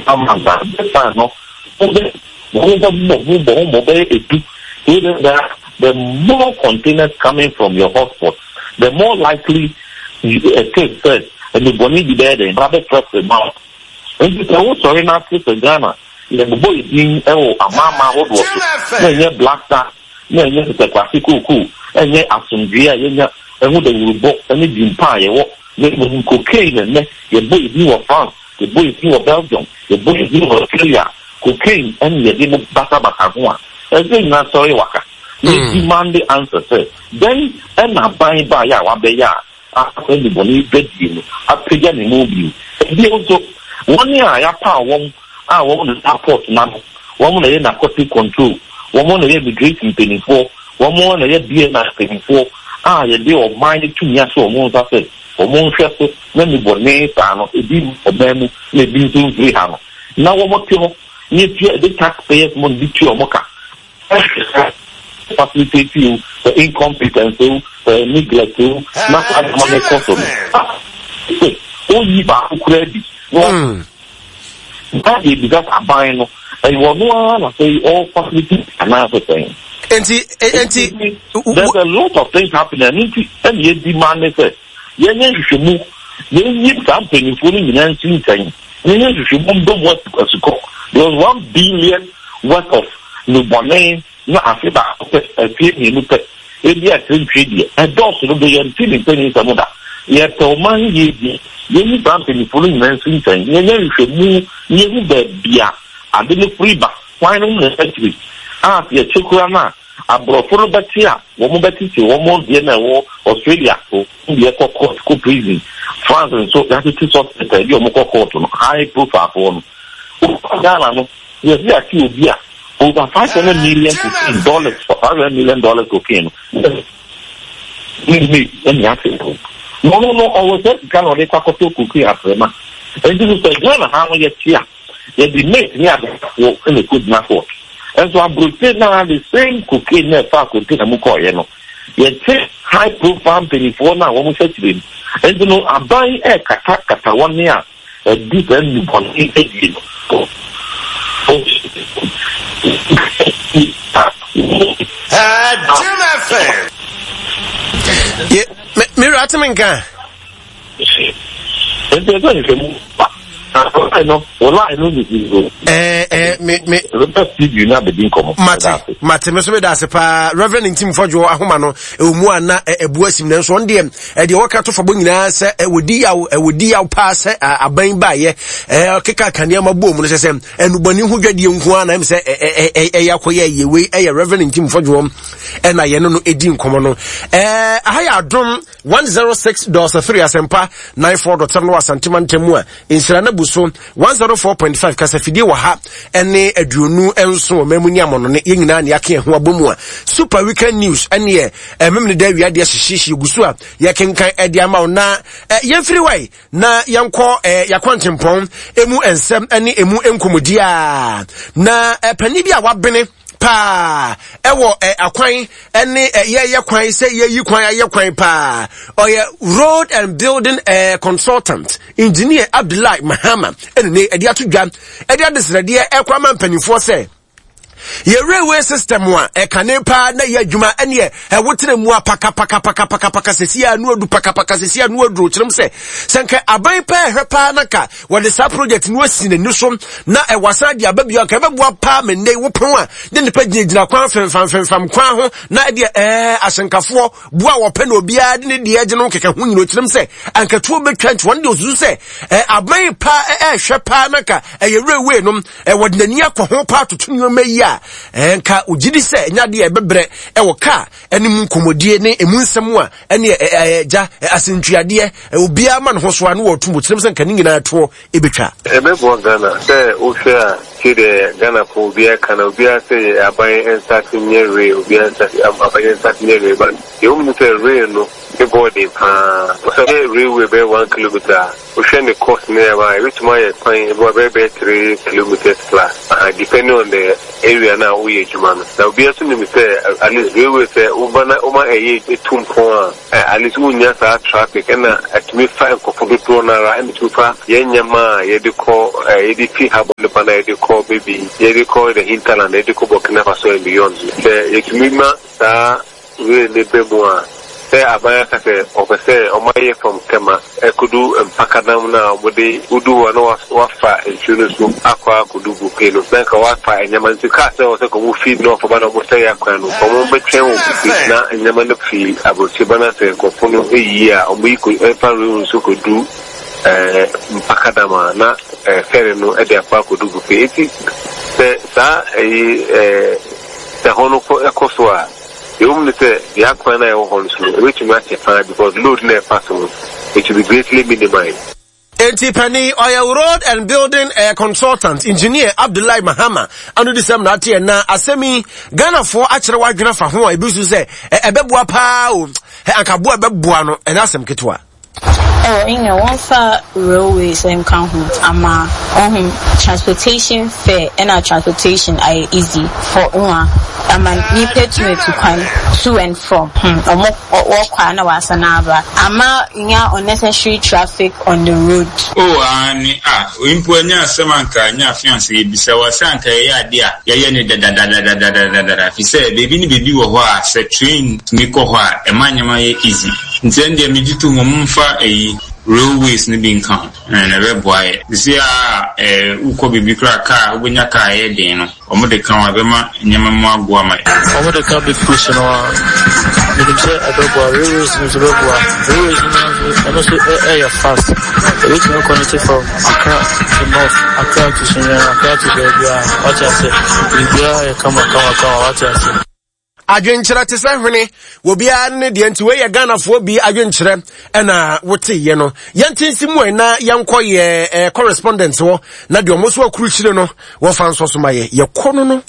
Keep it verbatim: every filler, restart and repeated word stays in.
Amanda this time no, wɔn bɛ bɔ ho bɔ ho bɔ bɛyɛ edu. The the more containers coming from your hotspot, the more likely it is sɛ ɛnubɔni bi bɛyɛ dɛ ba bɛ fɛfɛ ma wo. Nti sɛ wosɔre n'ase sɛ Ghana yɛbobɔ yɛ din ɛwɔ amaama ahodoɔ so, na ɛnyɛ Black Star, na ɛnyɛ sɛkwase kookoo, ɛnyɛ asomdwe a yɛnya ɛho dawurubɔ ɛne dimpa a yɛwɔ, na mmom cocaine. Ɛnɛ yɛbɔ yɛ din wɔ France, yɛbɔ yɛ din wɔ Belgium, yɛbɔ yɛ din wɔ Australia, cocaine ɛne yɛde mo basabasa ho a ɛsɛ nyinaa sɔre waka na demand answer sɛ dɛn ɛna aban ba yɛ a wabɛyɛ a asɛ nnubɔne dwadie no apagya ne mu bio. Ebio nso, wɔn a yɛapa wɔn a wɔn na airport n'ano, wɔn na yɛ narcotic control, wɔn na yɛ immigration mpanimfoɔ, wɔn na yɛ B N I mpanimfoɔ a yɛde ɔman no tumi ahyɛ wɔn nsa sɛ wɔn nhwɛ so na nnubɔne saa no ebi ɔman mu na ebi nso mfiri ha no, na wɔn te hɔ na etua ɛde taxpayers money bi tua wɔn ka, facilitate you the incompetence o, the neglect o, na saa nneɛma no kɔ so no sɛ oyi baako kura bi na na yɛ bisa aban no, ɛyɛ ɔno ara na sɛ ɔ facilitate anaasɛ sɛn? nti nti There's a lot of things happening. Ɛno nti ɛna yɛ demand ne sɛ yɛnyɛ nhwehwɛmu, yɛnyi saa mpanyinfoɔ no nyinaa nsi nkyɛn, yɛnyɛ nhwehwɛmu ndɔm asukɔ. There was one billion worth of nnubɔne na afe baako pɛ, afie mmienu pɛ, ebi akyerɛ ntwe deɛ ɛdɔɔso no do, yɛnte ne mpanyin nsɛm da. Yɛpɛ ɔman yie bi, yɛnyi saa mpanyinfoɔ no nyinaa nsi nkyɛn, yɛnyɛ nhwehwɛmu na yɛhu baabi a ade no firi ba, kwan no na akyiri a yɛkyɛ kura no a aborɔfo no bɛte a wɔn bɛtete wɔn deɛ na ɛwɔ Australia so deɛ kɔ court, kɔ prison. France nso yɛatete suspect a ebi a wɔn kɔ court no, high profile foɔ no. Wɔn Ghana no, yɛsi ate obi a over five hundred million cocaine dollars, five hundred million dollars cocaine no ne ne ɛne ate no na ɔno no ɔwɔ sɛ sika na ɔde kɔ akɔtɔ cocaine afrɛma. Nti so sɛ Ghana ha no yɛte a yɛde mate ne adefoɔ ɛna ɛkɔ gyina court, nso aburokye naa the same cocaine na ɛfa container mu kɔɔyɛ no, yɛte high profile mpanyinfoɔ no a wɔn hyɛ kyerɛ mu. Nti no aban ɛɛkata kata wɔn a ɛdi saa nnubɔne adie no. Jim F M. Ye me mewura ateme nka. Nti ɛsɛ nhwehwɛmu ba na no wɔn no ne zero. ɛɛ ɛɛ me me Rebɛ studio na abɛdi nkɔmɔ. Mate, mate, me so meda ase paa, Reverend Ntim Fɔdwo. Ahoma no ɛwɔ mu a na ɛbu asim, nanso ɔno deɛ ɛdeɛ wɔka to fabɔ nyinaa sɛ ɛwɔdi yaw, ɛwɔdi yaw paa sɛ aban baayɛ ɛɛ keka nneɛma bɔ mu no sɛ sɛ ɛnubɔne ho dwadie nko ara na ɛm sɛ ɛyɛ akɔyɛ yie. Wei ɛyɛ Reverend Ntim Fɔdwo ɛna yɛne no ɛdi nkɔmɔ no. ɛɛ aha yɛ Adom one zero six dot three, Asɛmpa ninety-four dot seven wɔ Asantema ntam mu a nsira no bu so one zero four point five, kasafidie wɔ ha ɛne aduonu nson wɔ mamu ne amɔnɔne. Yɛn nyinaa ne yɛaka yɛn ho abɔ mu a Super Weekend News ɛneɛ ɛmem ne da awia deɛ hyehyehye gu so a yɛkenkan ɛde ama wo. Na yɛmfiri wae na yɛnkɔ yɛakwankyempɔn emu nsɛm ne emu nkɔmmɔdi a na panin bi a wabene paa ɛwɔ ɛ akwan ɛne ɛ yɛyɛ kwan sɛ yɛyi kwan ayɛ kwan paa, ɔyɛ road and building ɛ consultant, Engineer Abdullahi Mahama, ɛne ne ɛde ato dwa ɛde adesrɛdeɛ ɛkɔ ama mpanimfoɔ sɛ yɛ railway system a ɛkane paa na yɛ adwuma ɛneɛ ɛwotena mu a pakapakapakapaka sɛsi a no adu pakapaka sɛsi a no aduro kyerɛm sɛ sɛ nka aban paa ɛhwɛ paa na ka wɔde saa project no asi n'ani so na ɛwɔ san de aba bio anka ɛbɛboa paa. Ma nnɛ wopɔn a ne nipa gyinagyina kwan femfam femfam kwan ho na ɛdeɛ ɛɛ ahyɛnkafoɔ boa a wɔpɛ na obiara de ne deɛ gye no kɛkɛ ho nyina okyerɛm sɛ ankatuo bɛtwa. Nti wɔn de osusu sɛ ɛ aban paa ɛɛhwɛ paa na ka ɛyɛ railway no ɛwɔ de n'ani akɔ ho paa toto nneɛma yi a ɛnka ogye di sɛ ɛnya adeɛ ɛbɛbrɛ ɛwɔ kaa ɛne mu nkɔmmɔdie ne emu nsɛm a ɛne ɛɛ gya asɛntuadeɛ obiara ma ne ho so a ne wɔto mu kyerɛm sɛ nka ne nyinaa toɔ ɛbɛtwa. Ɛbɛboa Ghana sɛ wohwɛ a sɛdeɛ Ghanafoɔ obiara ka na obiara sɛ aban nsase nyɛ rail, obiara nsase aban nsase nyɛ rail, but deɛ wɔn mu sɛ rail no ne bɔɔden paa sɛ yɛ railway bɛyɛ one kilometer a Wohwɛ ne cost ne ɛma ebetumi ayɛ kwan ebi bɛyɛ bɛyɛ three kilometers plus uh, depending on the area na woyɛ adwuma no. Na obiara nso nim sɛ at least railway sɛ woba na woma ɛyɛ etu mpɔn a, at least wonya saa traffic, ɛna ɛtumi fa nkɔfo dodoɔ no ara, ɛna ɛtumi fa yɛn nneɛma a yɛde kɔ ɛɛ yɛde fi ha bɔ nipa na yɛde kɔ maybe yɛde kɔ the hinterland, yɛde kɔ Burkina Faso and beyond. Sɛ yɛtumi ma saa rail ne bɛ mu a, sɛ aban aka sɛ ɔpɛ sɛ ɔma yɛ from Tema ɛkodu Mpakadam na ɔmode wodu hɔ na wafa nsuo no so akɔ akɔdu Buipe no, na nka wafa nneɛma, nti kaa sɛ ɔsɛ kɔmo fi na ɔfɔba na ɔmo sɛ yɛ akwan no, ɔmo bɛtwɛn wɔ Buipe na nneɛma no fi aburokyire ba, na sɛ nkɔfo no eyi a ɔmo yi kɔ ɛfa rail no so kɔdu ɛɛ Mpakadam a, na ɛɛ ferry no ɛde akɔ akɔdu Buipe. Eti sɛ saa ɛyi ɛɛ sɛ hɔ no kɔ ɛkɔ so a, ɛwɔ mu sɛ deɛ akwan no a ɛwɔ hɔ no so no ɛbɛtumi akyɛ paa, because load na ɛfa so no, it will be greatly minimized. Enti pani ɔyɛ road and building uh, consultant, Engineer Abdullahi Mahama ano de sɛm na ateɛ. Na asɛm yi, Ghanafoɔ akyerɛ w'adwene fa ho a, ebi nso sɛ ɛbɛboa paa o, anka boa ɛbɛboa no, ɛnyɛ asɛm ketewa. Oh, ɛnyɛ wɔmfa railways nka ho ama ɔho transportation fare ɛna transportation ayɛ easy for nwa ama nipa tumi tu kwan to and from. hmm ɔmo wɔkɔ a na wasan aba ama nya unnecessary traffic on the road. Oh, ani ah, mpo anya asɛm anka anya afe ansa yɛbisa wɔ sɛ anka yɛyɛ ade a yɛyɛ ne dadadadadadadada, fi sɛ beebi ne beebi wɔ hɔ a sɛ train tumi kɔ hɔ a, ɛma nneɛma yɛ easy. Nti ɛn deɛ megye to mu, momfa ɛyi railways no bi nka ho na ɛbɛboa yɛ sisi a ɛɛ wokɔ biribi koraa, kaa wobɛnya kaa ɛyɛ den no, ɔmo de ka ho a, ɛbɛma nneɛma mu ago ama yɛ. Ɔmo de ka big push no a, menim sɛ ɛbɛboa. Railways no nso bɛboa. Railways no nso, ɛno nso ɛyɛ fast, ɛbɛtumi connect from Accra to north, Accra to Sunyani, Accra to baabi a wate ase, biribiara yɛ kama kama kama, wate ase. Adwenkyerɛ te sɛ hwene, obiara ne deɛ, nti wei yɛ Ghanafoɔ bi adwenkyerɛ ɛna woteyɛ no. Yɛnte nsi mu na yɛnkɔ yɛ eh, correspondent hɔ na deɛ ɔmo so akurukyire no wɔfa nsɔ so ma yɛ yɛkɔ no no.